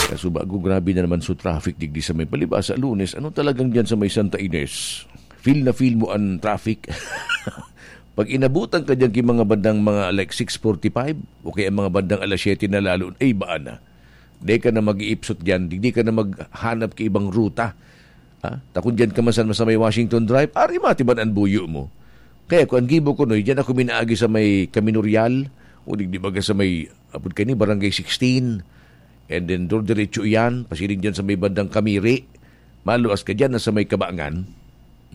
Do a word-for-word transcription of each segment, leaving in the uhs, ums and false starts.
Kasubago, grabe na naman so traffic digdi sa may palibasa, Lunes. Ano talagang diyan sa may Santa Ines? Feel na feel mo ang traffic. Pag inabutan ka diyan ki mga bandang mga, like, six forty-five o kaya mga bandang alas siyete na lalo, ay, baan na. Di ka na mag-iipsot diyan, di, di ka na maghanap ki ibang ruta. Ha? Ta kun diyan ka man sa, sa may Washington Drive, ari matiban an buyo mo. Kaya kung an gibo ko, no, diyan ako minaagi sa may Camino Real, o di, di baga sa may, apod kani, Barangay sixteen, and then dor-, diretso iyan, pasiring diyan sa may bandang Kamiri, maluwas ka diyan na sa may Kabangan.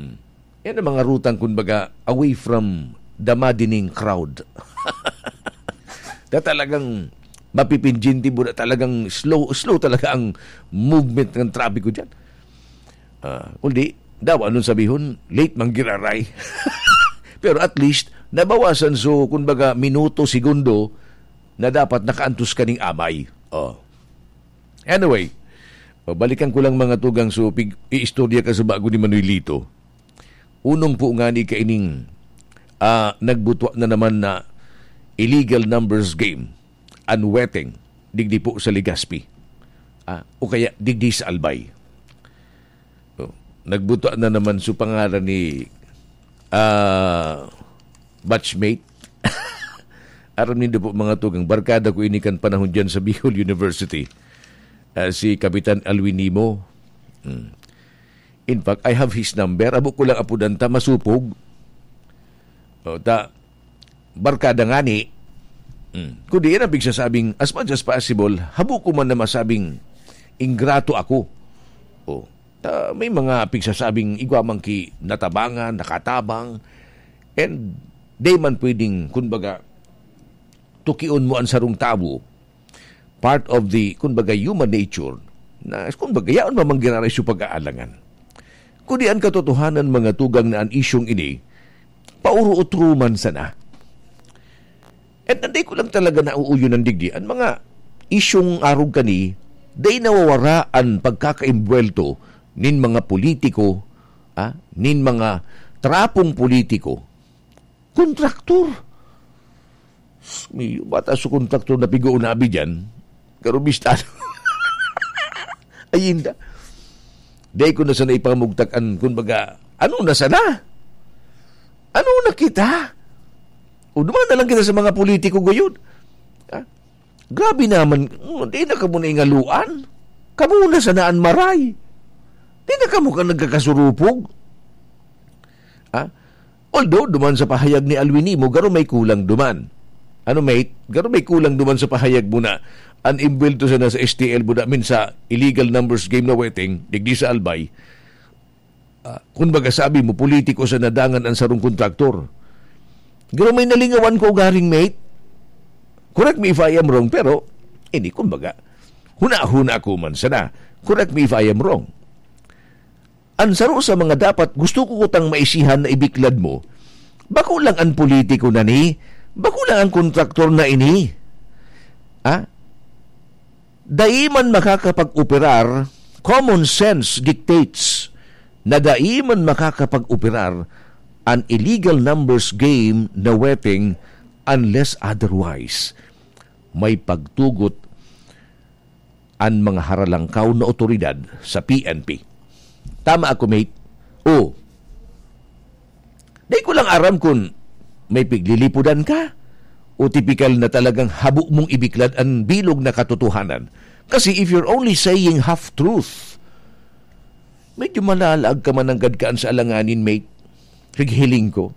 Hmm. Yan ang mga rutang, kumbaga, away from the maddening crowd. Na talagang mapipinjinti mo na talagang slow, slow talaga ang movement ng trapiko diyan. Ah, kundi, daw, anong sabihon? Late man giraray. Pero at least, nabawasan so, kumbaga, minuto, segundo, na dapat nakaantos ka ning amay. Oh. Anyway, balikan ko lang, mga tugang, so, pig-, iistorya ka sa bago ni Manuelito. Unong po ngani kaining, ah, nagbutwa na naman na illegal numbers game, an weteng, digdi po sa Legazpi. Ah, o kaya digdi sa Albay. Oh, nagbutwa na naman so pangalan ni, ah, batchmate. Aram nindo po, mga tugang, barkada ko ini kan panahon diyan sa Bicol University. Ah, si Kapitan Alwin Nimo. Hmm. In fact, I have his number. Abo ko lang apudan ta, masupog. O, ta, barkada ngani. Hmm. Kundi yan ang pigsasabing, as much as possible, habo ko man na masabing ingrato ako. O, ta, may mga pigsasabing igwa man ki natabangan, nakatabang, and di man pwedeng, kumbaga, tukion mo ang sarong tawo, part of the, kumbaga, human nature, na, kumbaga, yaon mamang giraray sa pag-aalangan. Kundi an katotohanan, mga tugang, na an isyong ini, pauro-utro man sana. At hindi ko lang talaga nauuyon ng digdi, ang mga isyong arog kani, day nawawara an pagkakaimbwelto nin mga politiko, ah, nin mga trapong politiko, kontraktor. May bata sa kontraktor na pigo-unabi dyan. Karubistado. Ayinda. Dahil ko na sana ipamugtak an, kumbaga, ano na sana? Ano na kita? O duman na lang kita sa mga politiko gayon. Ha? Grabe naman, mm, di na kamo na ingaluan. Kamo na sana an maray. Di na kamo ka nagkakasurupog. Ha? Although, duman sa pahayag ni Alwin Nimo, garo may kulang duman. Ano, mate? Garo may kulang duman sa pahayag mo na an imbwelto sana sa S T L mo namin sa illegal numbers game na weteng, digdi sa Albay. Ah, kun baga sabi mo, politiko sana dangan an sarong kontraktor. Garo may nalingawan ko, garing, mate. Correct me if I am wrong, pero, ini, kun baga, huna-huna ko man sana. Correct me if I am wrong. An saro sa mga dapat gusto ko kutang maisihan na ibiklad mo, bako lang an politiko na ni, bako lang an kontraktor na ini. Ha? Dai man makakapag-operar, common sense dictates na dai man makakapag-operar an illegal numbers game na weteng unless otherwise may pagtugot an mga haralangkaw na otoridad sa P N P. Tama ako, mate? Oo. Di ko lang aram kung may piglilipudan ka o tipikal na talagang habo mong ibiklad an bilog na katotohanan. Kasi if you're only saying half-truth, medyo malalaag ka man nanggad kaan sa alanganin, mate. Pighiling ko.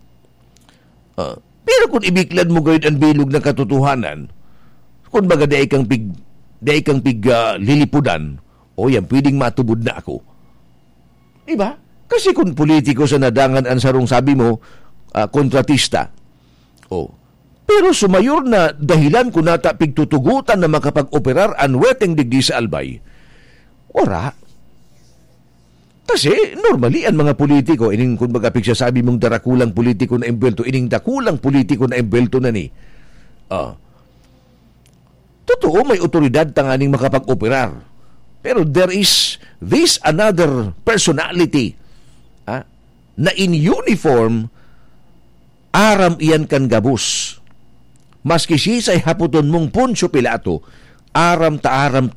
Ah, pero kung ibiklad mo gayud an bilog na katotohanan, kun baga dai kang pig-, dai kang pig-, ah, lilipudan, o yan, pwedeng matubod na ako. Di ba? Kasi kung politiko sa nadangan an sarong sabi mo, ah, kontratista. Oh. Pero sa mayor na dahilan kung nata pigtutugutan na makapag-operar an weteng digdi sa Albay, wara. Kasi, normally, ang mga politiko, ining, kumbaga, pigsasabi mong darakulang politiko na embwelto, ining dakulang politiko na embwelto na ni. Ah. Totoo, may otoridad tanganing makapag-operar. Pero there is this another personality, ah, na in uniform, aram iyan kan gabos. Maski sisay hapoton mong Poncio Pilato, aram ta aram